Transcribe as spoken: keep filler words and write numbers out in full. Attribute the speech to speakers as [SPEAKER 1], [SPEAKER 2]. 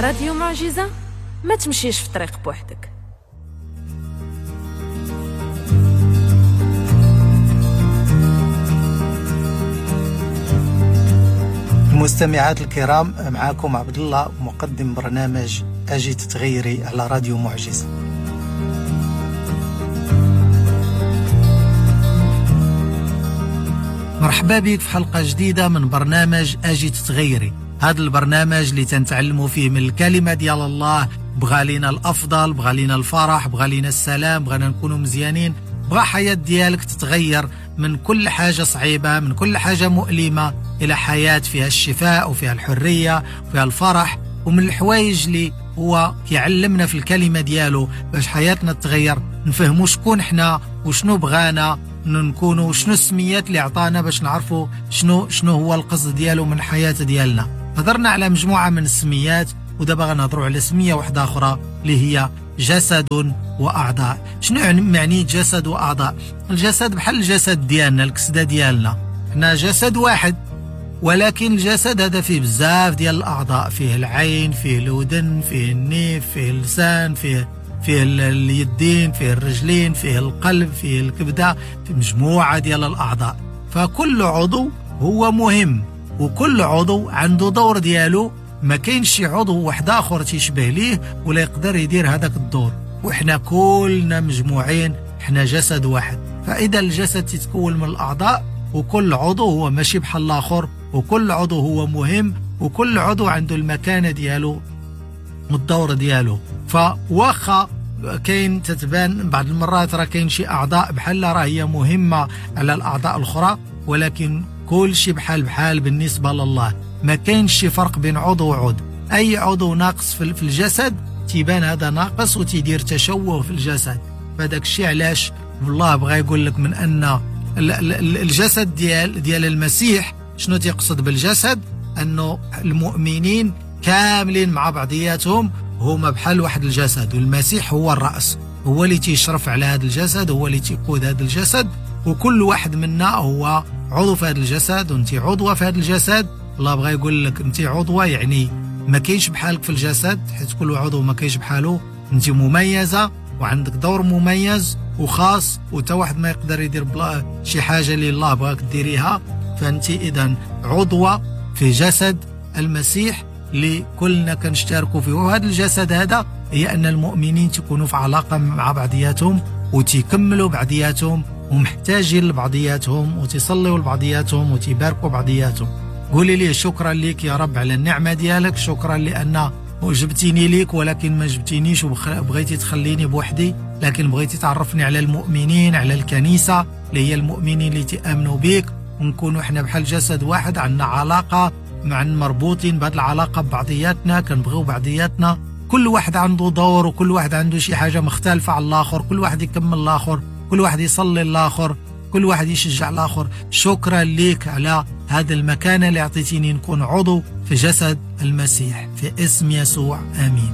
[SPEAKER 1] راديو معجزة، ما تمشيش في طريق بوحدك.
[SPEAKER 2] المستمعات الكرام، معاكم عبد الله مقدم برنامج أجي تتغيري على راديو معجزة. مرحبا بك في حلقة جديدة من برنامج أجي تتغيري. هذا البرنامج اللي تنتعلموا فيه من الكلمة ديال الله. بغى لينا الأفضل، بغى لينا الفرح، بغى لينا السلام، بغانا نكونوا مزيانين، بغى حياة ديالك تتغير من كل حاجة صعيبة، من كل حاجة مؤلمة، إلى حياة فيها الشفاء وفيها الحرية وفيها الفرح. ومن الحوايج اللي هو كيعلمنا في الكلمة ديالو باش حياتنا تتغير، نفهموا شكون حنا وشنو بغانا نكونوا، شنو السميات اللي عطانا باش نعرفوا شنو شنو هو القصد ديالو من حياة ديالنا. هضرنا على مجموعة من السميات، ودابا غنهضروا على سمية واحدة أخرى اللي هي جسد وأعضاء. شنو معني جسد وأعضاء؟ الجسد بحال الجسد ديالنا، الكسدة ديالنا، حنا جسد واحد، ولكن الجسد هذا فيه بزاف ديال الأعضاء، فيه العين، فيه الودن، فيه النيف، فيه اللسان، فيه فيه اليدين، فيه الرجلين، فيه القلب، فيه الكبدة، في مجموعة ديال الأعضاء. فكل عضو هو مهم، وكل عضو عنده دور ديالو، ما كاينش شي عضو واحد آخر تيشبه ليه ولا يقدر يدير هذاك الدور. وحنا كلنا مجموعين، حنا جسد واحد. فإذا الجسد تتكون من الأعضاء، وكل عضو هو ماشي بحال الآخر، وكل عضو هو مهم، وكل عضو عنده المكانة ديالو والدور ديالو. فواخا كاين تتبان بعض المرات راه كاين شي أعضاء بحال راه هي مهمة على الأعضاء الأخرى، ولكن كل شي بحال بحال بالنسبة لله. ما كاينش شي فرق بين عضو وعضو. أي عضو ناقص في الجسد تيبان هذا ناقص وتيدير تشوه في الجسد. فداك الشيء علاش الله بغى يقول لك من أن الجسد ديال ديال المسيح، شنو تيقصد بالجسد؟ أنه المؤمنين كاملين مع بعضياتهم هما بحال واحد الجسد، والمسيح هو الرأس، هو اللي تيشرف على هذا الجسد، هو اللي تيقود هذا الجسد، وكل واحد منا هو عضو في هذا الجسد، وانت عضوة في هذا الجسد. الله بغى يقول لك انت عضوة، يعني ما كاينش بحالك في الجسد، حيت كل عضو ما كاينش بحاله. انت مميزة وعندك دور مميز وخاص، وتا واحد ما يقدر يدير بلا شي حاجة اللي الله بغاك ديريها. فانت اذا عضوة في جسد المسيح اللي كلنا كنشتركوا فيه. وهذا الجسد هذا هي أن المؤمنين تكونوا في علاقة مع بعضياتهم، وتكملوا بعضياتهم، ومحتاجين لبعضياتهم، وتصليوا لبعضياتهم، وتباركوا بعضياتهم. قولي لي شكرا لك يا رب على النعمة ديالك، شكرا لأن جبتيني ليك ولكن ما جبتينيش وبغيتي تخليني بوحدي، لكن بغيتي تعرفني على المؤمنين، على الكنيسة اللي هي المؤمنين اللي تأمنوا بيك، ونكونوا احنا بحال جسد واحد، عندنا علاقة مع مربوطين بهذه العلاقة ببعضياتنا، كنبغيو بعضياتنا. كل واحد عنده دور، وكل واحد عنده شي حاجة مختلفة على الآخر، كل واحد يكمل الآخر، كل واحد يصلي الآخر، كل واحد يشجع الآخر. شكرا لك على هذا المكانة اللي أعطيتيني نكون عضو في جسد المسيح، في اسم يسوع، آمين.